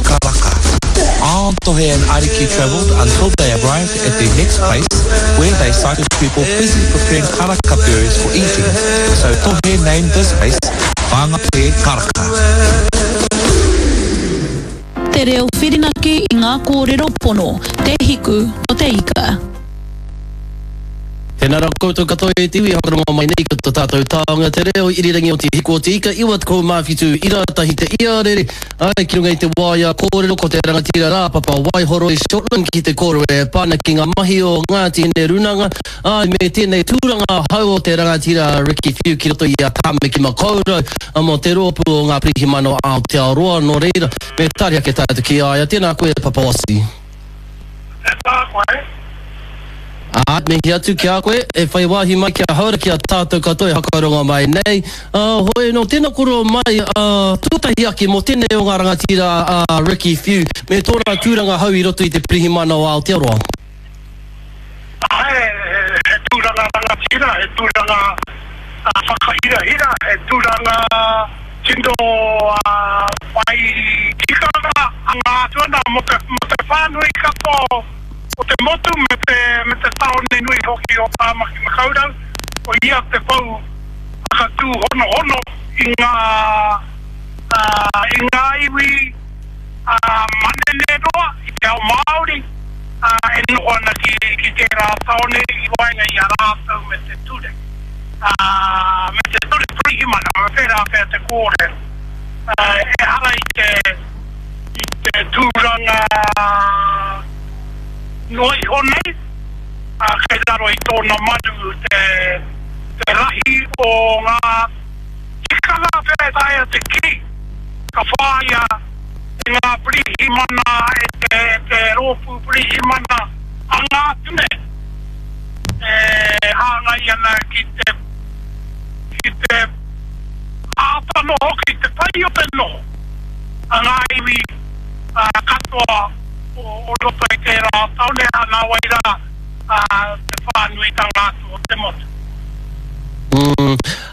Karaka. On Tohe and Ariki travelled until they arrived at their next place where they sighted people busy preparing karaka berries for eating. So Tohe named this place Whangape Karaka. Te reo whirinaki i ngā kōrero pono, te hiku o te ika. Tēnā rā koutou katoa e te iwi e whakarongo mai nei ki to tātou taonga te reo irirangi o te hiku o te ika 97 ira tahi te iarere āe ki runga i te waea kōrero ko te rangatira rā Papa Waihoroi Shortland ki te kōrero e pā ana ki ngā mahi o Ngāti Hine Runanga āe me tēnei tūranga hou o te rangatira Ricky Whiu ki roto i a Tāmaki Makaurau mō te rōpū o Ngā Pirihimana o Aotearoa nō reira me tari ake tātou ki a ia tēnā koe Papa Ossie. Tēnā koe. Ā, mihi atu ki a koe, e whai wāhi mai ki a Haora ki a tātou katoa e hakarongo mai nei. Ā, hoi anō, tēnā koroua mai, ā, tuatahi ake mō tēnei o ngā rangatira a Ricky Whiu me tōna tūranga hou i roto i te Pirihimana o Aotearoa. Āe, he tūranga rangatira, he tūranga whakahirahira, he tūranga tino whai tikanga anga atu ana mō te whānui katoa o te motu me te tāone nui hoki o Tāmaki Makaurau, ko ia te pou whakatūhonohono i ngā iwi manene roa i te ao Māori e noho ana ki tērā tāone i waenga i a rātou me te ture, me te ture pirihimana, me pērā pea te kōrero. Ehara i te, i te tūranga noa iho nei, kei raro i tōna maru te, te rahi o ngā tikanga pea e taea te kī. Ka whāia e ngā pirihimana, e te rōpū pirihimana anga atu nei, e hāngai ana ki te, ki te āta noho, ki te pai o te noho a ngā iwi katoa o roto i tērā tāone, ā, nāwai rā te whānuitanga atu o te motu.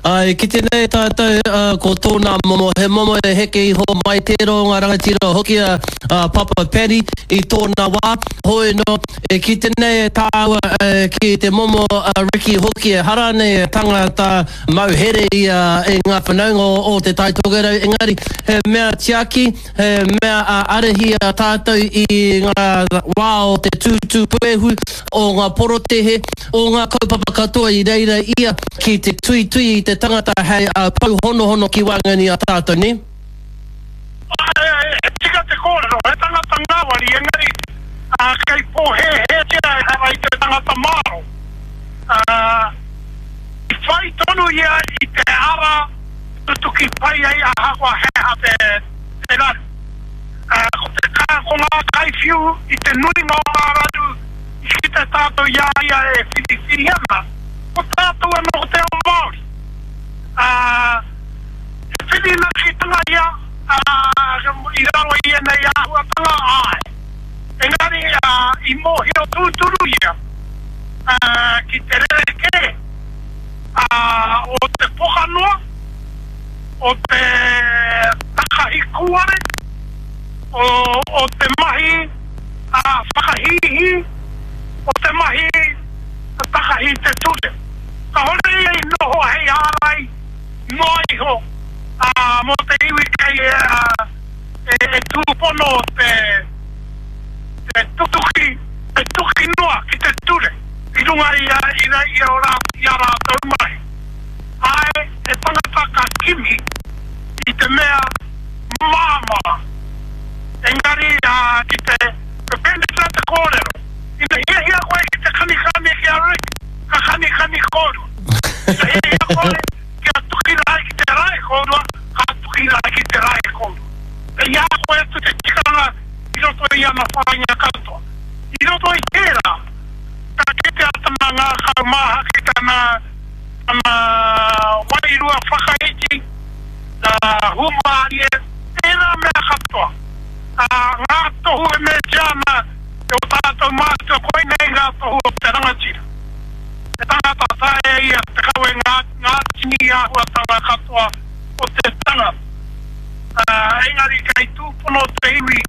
Ā, e kite nei tātou, ā, ko tōna momo, he momo e heke iho mai tērā o ngā rangatira hoki a, a Papa Paddy i tōna wā. Hoi anō, e kite nei e tāua, e, ki te momo a Ricky hoki, ehara nei e tangata mau here ia i ngā whanaunga o, o Te Tai Tokerau, engari he mea tiaki, He mea a arahi a tātou i ngā wā o te tūtū puehu, o ngā porotehe, o ngā kaupapa katoa i reira ia ki te tuitui i te tangata hei pou honohono ki waenganui i a tātou, nē? Āe, he tika te kōrero, he tangata ngāwari, engari kei pōhēhētia ehara i te tangata mārō. I whai tonu ia i te ara tutuki pai ai ahakoa he aha te raru. Ko te ko ngā kaiwhiu i te nuinga o ngā raru i kite tātou i a ia e whiriwhiri ana, ko tātou anō ko te ao Māori. He whirinakitanga ia i raro i ēnei āhuatanga, āe. Engari i mōhio tūturu ia ki te rerekē o te pokanoa, o te takahi kūare, o te mahi whakahīhī, o te mahi takahi te ture. Kāore ia i noho hei ārai noa iho mō te iwi kei e tūpono te tutuki, te tuki noa ki te ture. i runga i a i a rātou mahi. Āe, he tangata ka kimi i te mea māmā, engari ki te pēnei te kōrero, ina hiahia koe ki te kanikani ki a Rick, ka kanikani kōrua. Ina hiahia koe kia tuki rae ki te rae kōrua, ka tuki rae ki te rae kōrua. Kei a koe atu te tikanga i roto i ana whāinga katoa. I roto i tērā, ka kitea tana ngākau māhaki, tana, tana wairua whakaiti, hūmārie, ērā mea katoa. Ngā tohu e meatia ana e ō tātou mātua, koinei ngā tohu o te rangatira. He tangata taea ia te kawe ngā, ngā tini āhuatanga katoa o te tangata. Engari kei tūpono te iwi.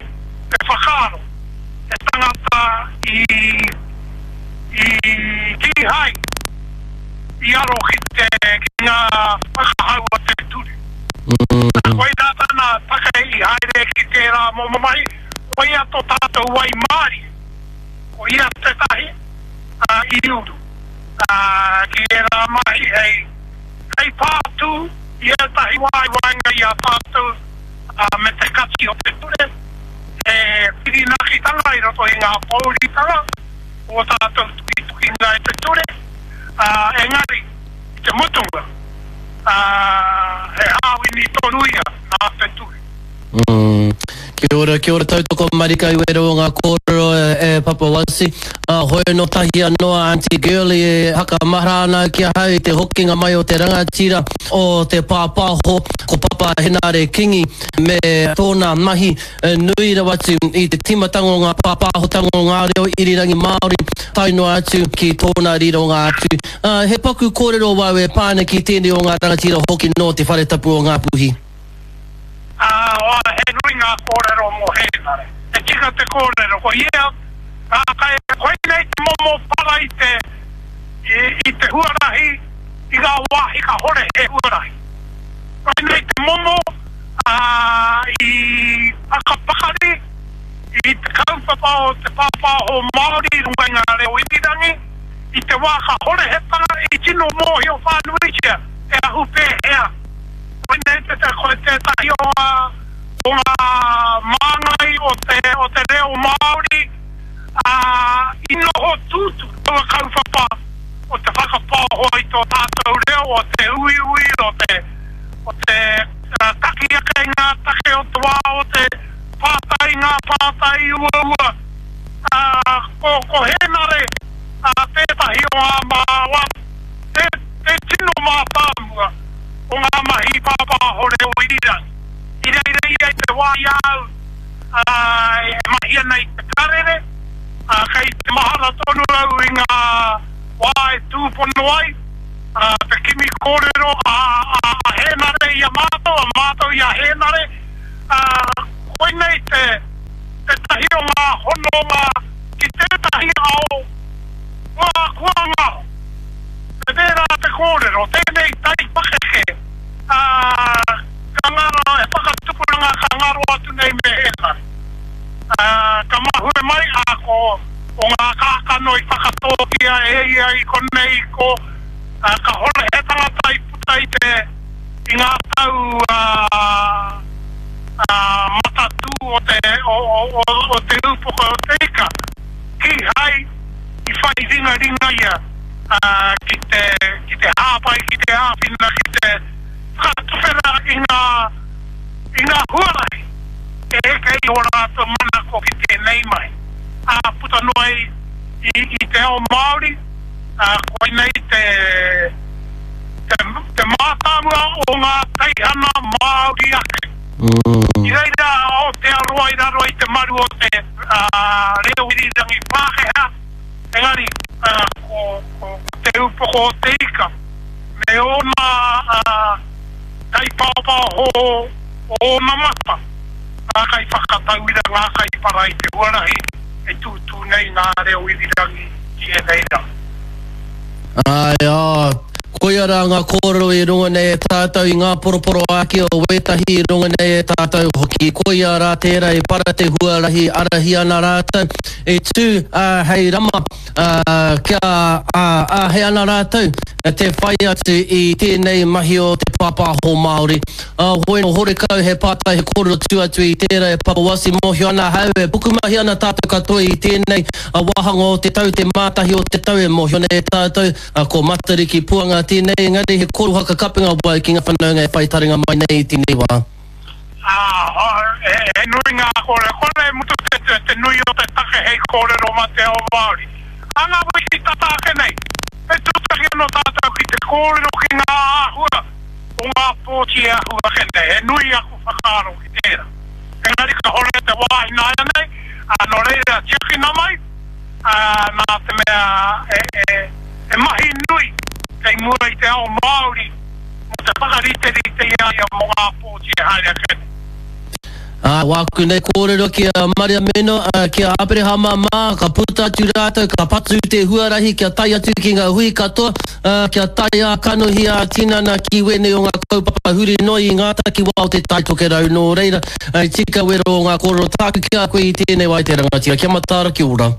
i, i kīhai i aro ki te, ki ngā whakahau a te ture. Nā, koirā tana take i haere ki tērā momo mahi, koia tō tātou waimarie, ko ia tētahi i uru ki ērā mahi hei, hei pātū i ētahi wā i waenga i a tātou me te kati o te ture, he whirinakitanga i roto i ngā pōuritanga o ō tātou tukitukinga i te ture, engari i te mutunga, he hāwini tonu ia nā te ture. Kia ora, kia ora tautoko marika i wera o ngā kōrero e Papa Wasi. Hoi no tahi anō a Aunty Girlie e hakamahara ana ki ahau i te hokinga mai o te rangatira o te pāpāho ko Papa Henare Kingi me tōna mahi nui rawa atu i te tīmatanga o ngā pāpāhotanga o ngā reo irirangi Māori tae noa atu ki tōna rironga atu. He paku kōrero wau e pā ana ki tēnei o ngā rangatira hoki nō Te Whare Tapu o Ngāpuhi. Ā, he nui ngā kōrero mō Hēnare. He tika te kōrero, ko ia, ā, kai, koinei te momo para i te, i, i te huarahi, i ngā wāhi kahore he huarahi. Koinei te momo, ā, i whakapakari i te kaupapa o te pāpāho Māori i runga i ngā reo irirangi, i te wā kahore he para, i tino mōhio whānuitia e ahu pēhea. Koinei te ko tētahi o ngā, o ngā māngai o te, o te reo Māori, ā, i noho tūturu taua kaupapa o te whakapaoho i tō tātou reo, o te uiui, o te, o te taki ake i ngā take o te wā, o te pātai i ngā pātai uaua. Ā, ko, ko Hēnare, ā, tētahi o ngā māwa, te, te tino mātāmua o ngā mahi pāpāho reo irirangi. I reira ia i te wā i a au e mahi ana i te karere, ā, kei te mahara tonu au i ngā wā e tūpono ai te kimi kōrero a Hēnare i a mātou, a mātou i a Hēnare, ā, koinei te tētahi o ngā hononga ki tētahi ao kua, kua ngaro. Me pērā te kōrero, tēnei taipakeke, ā, ka ngaro, he whakatupuranga ka ngaro atu nei me Hēnare. Ā, ka mahue mai, ā, ko, ko ngā kākano i whakatōkia e ia i konei, ko, ā, ka hore he tangata i puta i te, i ngā tau, ā, ā, matatū o te, o, o, o, o te upoko o te ika, kīhai i whai ringaringa ia. ki te, ki te hāpai, ki te āwhina, ki te whakatuwhera i ngā, i ngā huarahi e eke i ō rātou manako ki tēnei mahi. Ā, puta noa i, i, i te ao Māori, ā, koinei te, te, te mātāmua o ngā teihana Māori ake. I reira a Aotearoa i raro i te maru o te, ā, reo irirangi Pākehā, Engari, ko Te Upoko o te Ika me ōna kaipaopaoho o ōna mata, ngā kaiwhakatauira, ngā kaipara i te huarahi e tūtū nei ngā reo irirangi ki ēnei rā. Āe, ā, koia rā ngā kōrero i runga nei e tātou i ngā poroporoāki o wētahi i runga nei e tātou hoki. Koia rā tērā i para te huarahi arahi ana rātou e tū, ā, hei rama, ā, kia, ā, āhei ana rātou te whai atu i tēnei mahi o te pāpāho Māori. Ā, hoi nō horekau he pātai he kōrero tū atu i tērā e Papa Wasi mōhio ana ahau e pukumahi ana tātou katoa i tēnei wāhanga o te tau, te mātahi o te tau e mōhio nei e tātou, ko Matariki Puanga tēnei, engari he kōrero whakakapenga wau ki ngā whanaunga e whai taringa mai nei i tēnei wā. Ā, he nui ngā kōrero, kore e mutu te nui o te take hei kōrero mā te ao Māori. Ā ngā wiki tata ake nei, me tūtaki anō tātou ki te kōrero ki ngā āhua o ngā pōti e ahu ake nei. He nui aku whakaaro ki tērā. Engari ka hore te wā ināianei, ā, nō reira tiakina mai, ā, nā te mea he mahi nui kei mua i te ao Māori mō te whakariterite i a ia mō ngā pōti e haere ake nei. Ā, wāku nei kōrero ki a Mariameno, ā, ki a Aperehama mā, ka puta atu rātou, ka patu te huarahi kia tae atu ki ngā hui katoa, ā, kia tae ā-kanohi, ā-tinana ki wēnei o ngā kaupapa huri noa i ngā takiwā o Te Tai Tokerau. Nō reira, i tika wero o ngā kōrero tāku ki a koe i tēnei wā e te rangatira. Kia mataara, kia ora.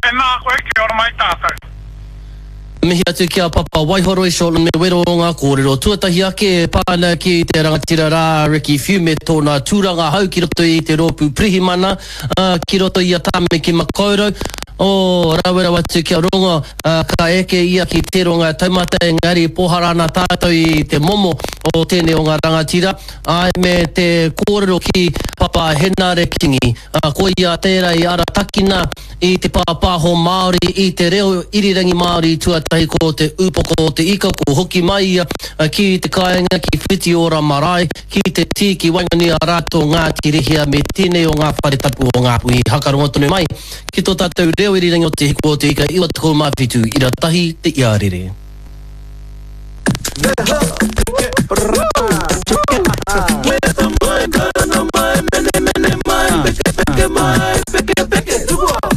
Tēnā koe, kia ora mai tātou. Mihi atu ki a Papa Waihoroi Shortland me wero o ngā kōrero. Tuatahi ake e pā ana ki te rangatira rā a Ricky Whiu me tōna tūranga hou ki roto i te rōpū pirihimana, ā, ki roto i a Tāmaki Makaurau. Oh, rawe rawa atu kia rongo, ā, ka eke ia ki tērō ngā taumata engari pōhara ana tātou i te momo o tēnei o ngā rangatira, āe, me te kōrero ki Papa Henare Kingi, ā, koia tērā i aratakina I te pāpāho Māori, i te reo irirangi Māori tuatahi ko te upoko o te ika ko hoki mai ia ki te kāinga ki Whitiora marae, ki te tī ki waenganui a rātou Ngāti Rehia me tēnei o ngā whare tapu o Ngāpuhi. Hakarongo tonu mai ki tō tātou reo irirangi o Te Hiku o te Ika 97 ira tahi te iarere.